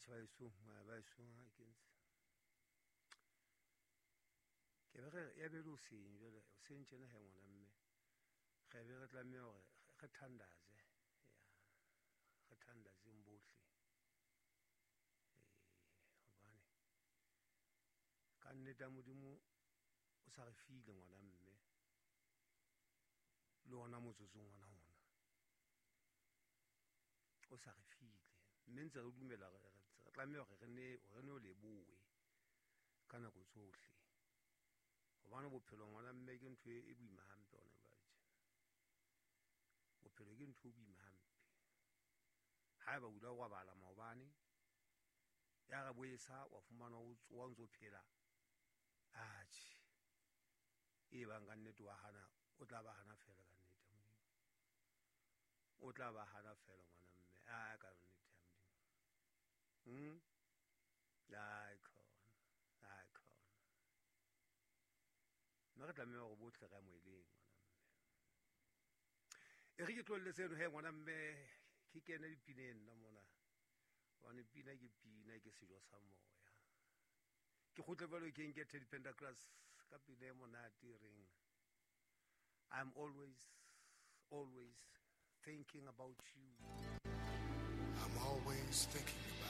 Atjhe baesong, baesong ha ke ntse ke be re ya be le hoseng jwale, hoseng tjena he ngwana mme re be re tlameha hore re thandaze, ya re thandazeng bohle, hobane ka nnete ya Modimo o sa re file ngwana mme le ona motsotsong ona ona o sa re file, mme ntse re dumela re tlameha hore re ne o lebohe ka nako tsohle, hobane bophelo ngwana mme ke ntho e boima hampe hona jwale tjena. Bophelo ke ntho e boima hampe. Haeba o ile wa robala maobane, ya re boesa wa fumana o tsoha o ntso phela, atjhe e bang ka nnete wa hana, o tla ba hana fela ka nnete ya Modimo, o tla ba hana fela ngwana mme, a ka nnete ya Modimo. Ai khona, ai khona. Mme re tlameha hore bohle re amoheleng ngwana mme. E re ke tlohelle seno he ngwana mme, ke kene dipineng nna mona, hobane pina ke pina, ke sejo sa moya. Ke kgutle jwalo ke nke Teddy Pendergrass ka pina e monate e reng I'm always, always thinking about you. I'm always thinking